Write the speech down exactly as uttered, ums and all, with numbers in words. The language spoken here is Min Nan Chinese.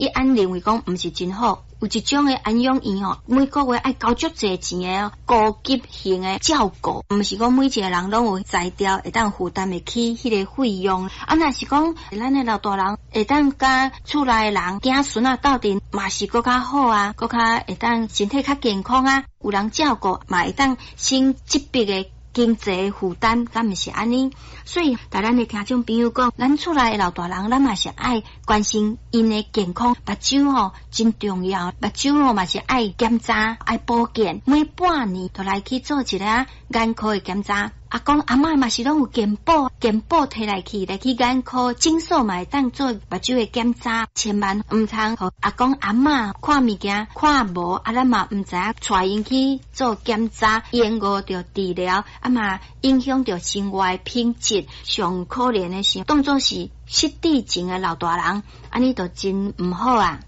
伊按認為講毋是真好。有一種的安養院吼，每個月愛交足濟錢的高級型的照顧，毋是講每一個人攏有才調會當負擔會起彼個費用。啊，若是講咱的老大人會當佮厝內的人囝孫仔鬥陣，嘛是閣較好啊，閣較會當身體較健康啊，有人照顧嘛會當省這筆的經濟負擔，敢毋是按呢？所以，共咱的聽眾朋友講，咱厝內的老大人，咱嘛是愛關心𪜶的健康，目睭吼真重要，目睭吼嘛是愛檢查、愛保健，每半年就來去做一个眼科的檢查。阿公阿嬤嘛是攏有健保，健保提來去來去眼科診所嘛會當做目睭的檢查，千萬毋通予阿公阿嬤看物件看無，啊咱嘛毋知影帶𪜶去做檢查，延誤著治療，啊嘛影響著生活的品質。上可憐的是，當作是失智症的老大人，按呢就真毋好啊。